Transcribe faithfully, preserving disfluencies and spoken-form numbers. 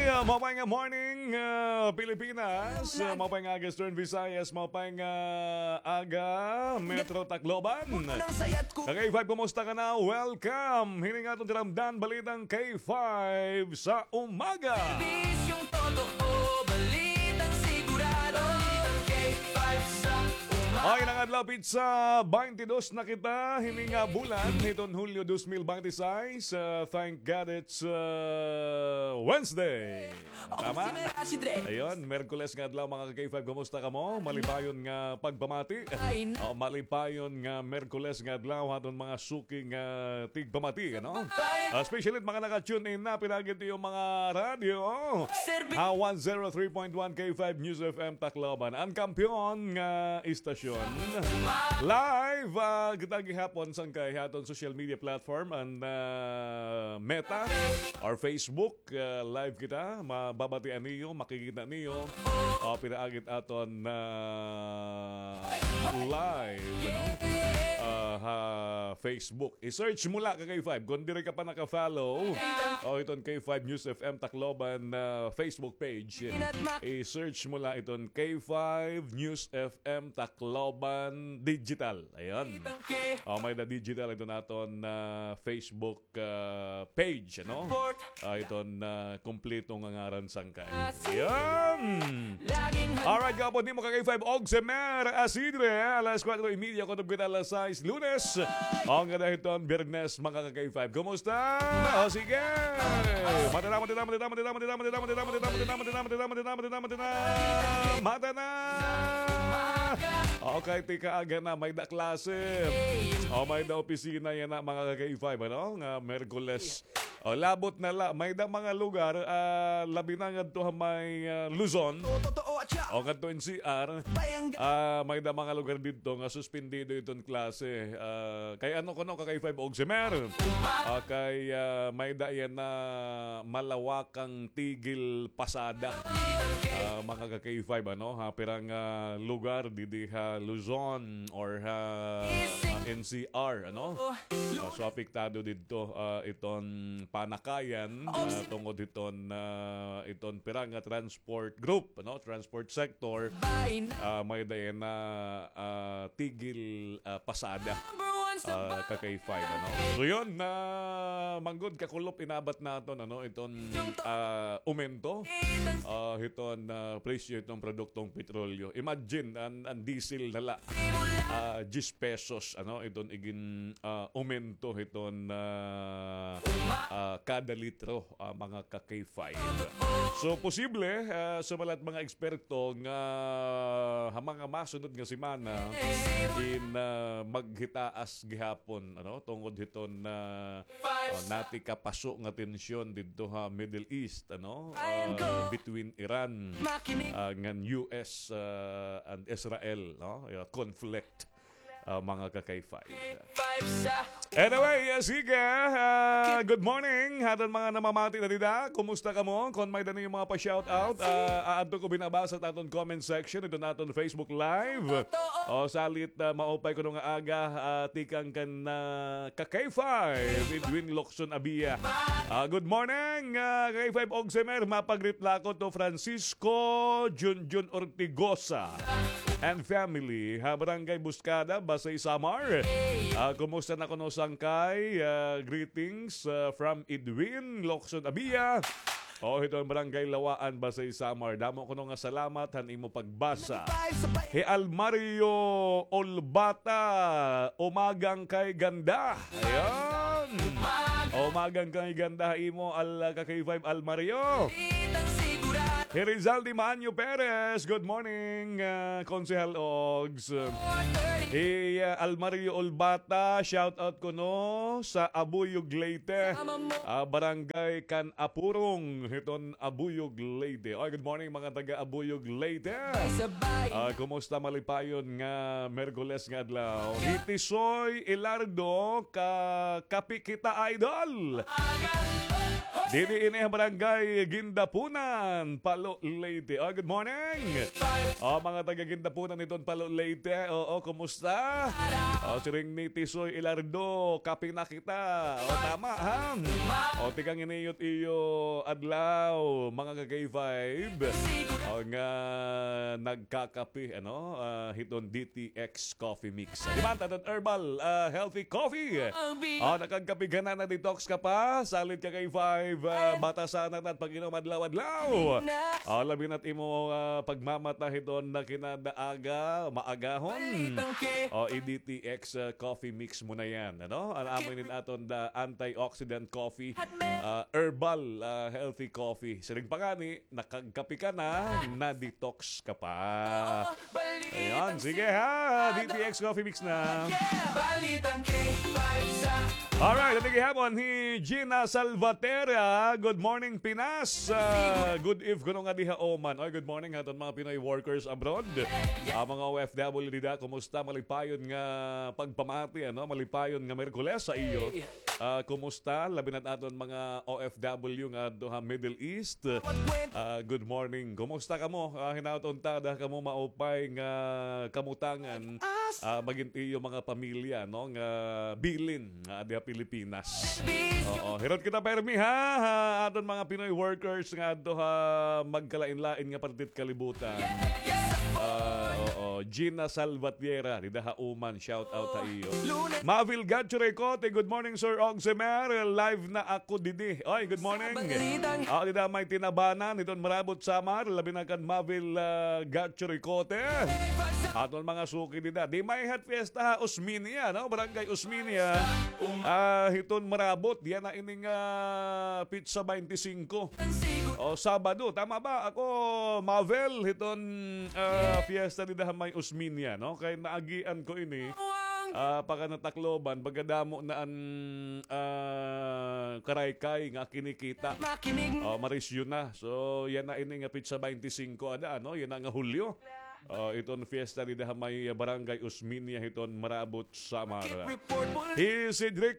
Ah, maupay nga morning, ah, Pilipinas. Ah, maupay nga aga, Eastern Visayas. Maupay nga aga, Metro Tacloban. Ka-K five, kumusta ka na? Welcome. Hini nga aton tinamdan, Balitang K five sa umaga. Serbisyong totoo, balitang sigurado. Balitang K five sa umaga. Okay, nang adlaw, pitsa baynte dos na kita. Hini nga bulan, hiton Hulyo dos mil baynte sais. Ah, thank God it's, ah, Wednesday. Tama? Ayun, Merkules nga adlaw, mga ka-K five, kumusta kamo? Malipayon nga pagpamati. O, malipayon nga Merkules nga adlaw, aton mga suki nga tigpamati, ano? Ah, especially mga naka-tune in na, pinaagi it iyo mga radyo. Ha, one zero three point one K five News F M Tacloban. An kampiyon nga istasyon. Live, ah, kita gihapon sangkay ha aton social media platform, an, ah, Meta or Facebook. Ah, live kita, mababatian niyo, makikita niyo. O, pinaagi it aton, ah, live, ano? Ah, ha Facebook. I-search mo la ka K five. Kon diri ka pa naka-follow, o, iton K five News F M Tacloban, ah, Facebook page, i-search mo la iton K five News F M Tacloban Digital. Ayan. O, may-ada digital iton aton, ah, Facebook ah, page, ano? Ah, iton, ah, kumpleto nga ngaran sangkay. Yan! Alright, gahapon nimo ka K five, Ogsemer Asidre, alas kuwatro y media, kutob kita alas sais, Lunes. Ngada hiton Biyernes, mga ka K five. Kumusta? O, sige! Mata na, mata na, mata na, mata na, mata na, mata na, mata na, mata na, mata na, mata na, mata na, mata na, mata na, mata na, mata na, mata na. Okay, tikaaga na, may-ada klase. O, may-ada opisina yana, mga ka K five, ano? Nga Merkules. O, labot na la, may-ada mga lugar, ah, labi na ngadto ha may, ah, Luzon. O, ngadto N C R. Ah, may-ada mga lugar didto nga suspendido iton klase. Ah, kay ano kuno ka K five, Ogsemer? Ah, kay, ah, may-ada yana malawakang tigil pasada. Ah, mga ka K five, ano, ha, pira nga lugar didi ha Luzon or ha, ah, N C R, ano? Ah, so, apektado didto, ah, iton panakayan, ah, tungod hiton, ah, iton pira nga transport group, ano, transport sector, ah, may-ada yana, ah, tigil, ah, pasada, ah, ka K five, ano. So, yun, na manggod kakulop inabat naton, ano, iton, ah, umento, ah, hiton, ah, presyo hiton produktong petrolyo. Imagine, an, an diesel na la, ah, diyes pesos, ano, iton igin, ah, umento hiton, ah, ah, kada litro, ah, mga ka K five. So, posible, ah, sumala it mga eksperto nga ha mga masunod nga semana, in, ah, maghitaas gihapon, ano, tungod hiton, ah, ah, nati kapaso nga tensyon didto ha Middle East, ano, ah, between Iran, ah, ngan U S, ah, and Israel, no? Yeah, conflict, ah, mga ka K five. Anyway, ah, sige, ah, good morning ha aton mga namamati na dida. Kumusta kamo? Kon may-ada niyo mga pa-shoutout, ah, aadto ko binabasa ha aton comment section, iton aton Facebook Live. O, salit, ah, maupay kuno nga aga, ah, tikang kan, ah, ka K five, Edwin Locson Abia. Ah, good morning, ah, ka K five Ogsemer, mapa-greet la ako to Francisco Junjun Ortigosa and family ha Barangay Buscada, Basey, Samar. Ah, kumusta na kuno sangkay? Ah, greetings, ah, from Edwin Locson Abia. O, hiton Barangay Lawaan, Basey, Samar. Damo kuno nga salamat han imo pagbasa. Hi Almario Olbata, umagang kay ganda. Ayan. Umagang kay ganda ha imo, al, ka K five Almario. Hi Rizaldi Maanyo Perez, good morning, ah, Konsehal Ogs. Hi, ah, Almario Olbata, shout out kuno sa Abuyog, Leyte. Ah, Barangay Can Apurong, hiton Abuyog, Leyte. Oy, good morning, mga taga Abuyog, Leyte. Ah, kumusta, malipayon nga Merkules nga adlaw? Hi Tisoy Ilardo, ka Kapi Kita Idol. Didi ini ha Barangay Guindapunan, Palo, Leyte. Oh, good morning. Oh, mga taga Guindapunan hiton Palo, Leyte. Oo, kumusta? Oh, siring ni Tisoy Ilardo, kape na kita. Oh, tama, ha? Oh, tikang ini it iyo adlaw, mga ka-K five. Oh, nga nagkakape, ano? Ah, hiton D T X Coffee Mix. Di ba, taton herbal, ah, healthy coffee? Oh, nakagkape ka na, na-detox ka pa? Salit ka kay five, ah, batasan na at pag-inom adlaw-adlaw. Oh, labi na't imo, ah, pagmamata hiton na kinadaaga, maagahon. Oh, i-D T X, ah, coffee mix mo na yan, ano? An amo inin aton the antioxidant coffee, ah, herbal, ah, healthy coffee. Siring pa ngani, nakagkape ka na, na-detox ka pa. Ayan, sige ha. D T X Coffee Mix na. Alright, aton gihapon hi Gina Salvatera. Good morning, Pinas. Ah, good eve kuno nga diha Oman. Oy, good morning ha aton mga Pinoy workers abroad. Ah, mga O F W dida, kumusta? Malipayon nga pagpamati, ano? Malipayon nga Miyerkules sa iyo. Ah, kumusta? Labi na't aton mga O F W nga adto ha Middle East. Ah, good morning. Kumusta kamo? Ah, hinaot unta da kamo maupay nga kamutangan. Ah, magin iyo mga pamilya, no, nga bilin nga adi ha Pilipinas. Oo, hirot kita permi, ha, ha aton mga Pinoy workers nga adto ha magkalain-lain nga parte it kalibutan. Ah, oo, Gina Salvatierra, dida ha Oman, shout out ha iyo. Mavil Gatchuricote, good morning, Sir Ogsemer. Live na ako didi. Oy, good morning. Ah, dida may Tinabanan, hiton Marabot, Samar, labi na kan Mavil, ah, Gatchuricote. Aton mga suki dida. Di may hat fiesta ha Osmeña, no? Barangay Osmeña. Ah, hiton Marabot, yana ining, ah, pitsa baynte singko. O, Sabado, tama ba? Ako, Mavil, hiton, ah, fiesta dida ha may Osmeña, no? Kay naagian ko ini. Ah, pagka na Tacloban, baga damo na an, ah, karaykay nga kinikita. O, marisyo na. So, yana ini nga pitsa baynte singko ada, ano? Yana nga Hulyo. O, iton fiesta dida ha may Barangay Osmeña hiton Marabot, Samar. Hi Cedric